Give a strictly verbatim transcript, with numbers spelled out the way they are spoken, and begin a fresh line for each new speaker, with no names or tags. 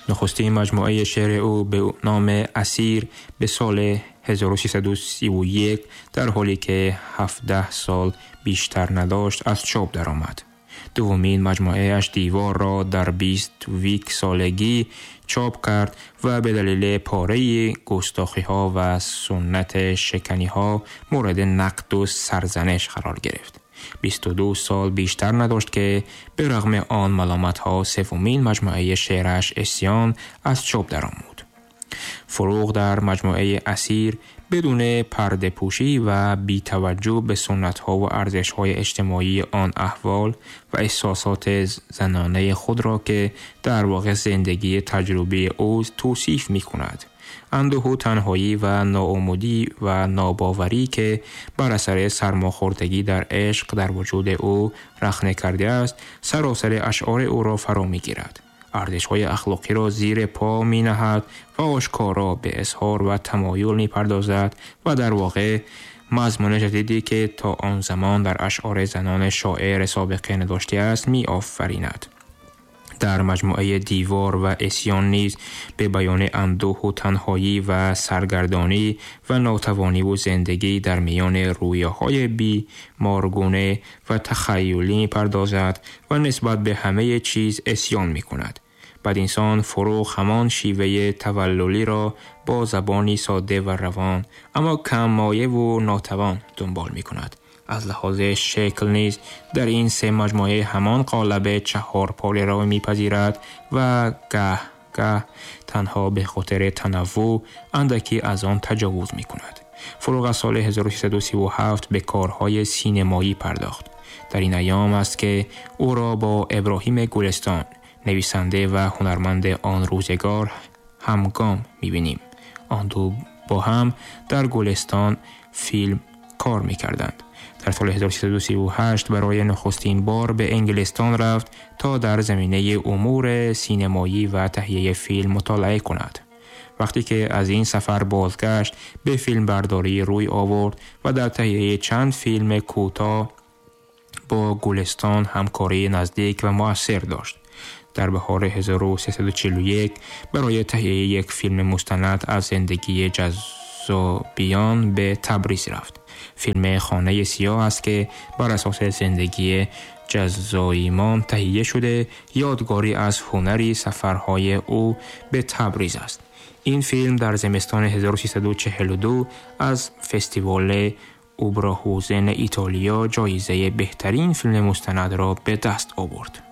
نخستین مجموعه شعر او به نام اسیر به سال هزار و سیصد و سی و یک در حالی که هفده سال بیشتر نداشت از چاپ درآمد. دومین مجموعه اش دیوار را در بیست و یک سالگی چاپ کرد و به دلیل پاره گستاخی ها و سنت شکنی ها مورد نقد و سرزنش قرار گرفت. بیست و دو سال بیشتر نداشت که به رغم آن ملامت ها سومین مجموعه شعرش عصیان از چاپ درآمد. فروغ در مجموعه اسیر بدون پرده پوشی و بی توجه به سنت ها و ارزش های اجتماعی آن احوال و احساسات زنانه خود را که در واقع زندگی تجربی او توصیف می کند، اندوه و تنهایی و ناامیدی و ناباوری که بر اثر سرماخوردگی در عشق در وجود او رخنه کرده است، سراسر اشعار او را فرا می گیرد. ارزش‌های اخلاقی را زیر پا می‌نهد و آشکارا به اظهار و تمایل می‌پردازد و در واقع مضمون جدیدی که تا آن زمان در اشعار زنان شاعر سابقه نداشته است می‌آفریند. در مجموعه دیوار و عصیان نیز به بیان اندوه و تنهایی و سرگردانی و ناتوانی و زندگی در میان رویاهای بیمارگونه و تخیلی می‌پردازد و نسبت به همه چیز عصیان می‌کند. بدینسان فروغ همان شیوه توللی را با زبانی ساده و روان اما کم مایه و ناتوان دنبال می‌کند. از لحاظ شکل نیز در این سه مجموعه همان قالب چهار پاره را می‌پذیرد و گه گه تنها به خاطر تنوع اندکی از آن تجاوز می‌کند. فروغ از سال هزار و سیصد و سی و هفت به کارهای سینمایی پرداخت. در این ایام است که او را با ابراهیم گلستان، نویسنده و هنرمند آن روزگار، همگام می‌بینیم. آن دو با هم در گلستان فیلم کار می‌کردند. در سال هزار و سیصد و سی و هشت برای نخستین بار به انگلستان رفت تا در زمینه امور سینمایی و تهیه فیلم مطالعه کند. وقتی که از این سفر بازگشت به فیلم برداری روی آورد و در تهیه چند فیلم کوتاه با گلستان همکاری نزدیک و مؤثر داشت. در بهار هزار و سیصد و چهل و یک برای تهیه یک فیلم مستند از زندگی جذابیان به تبریز رفت. فیلم خانه سیاه است که بر اساس زندگی جزاییمان تهیه شده، یادگاری از هنری سفرهای او به تبریز است. این فیلم در زمستان هزار و سیصد و چهل و دو از فستیوال اوبراهوزن ایتالیا جایزه بهترین فیلم مستند را به دست آورد.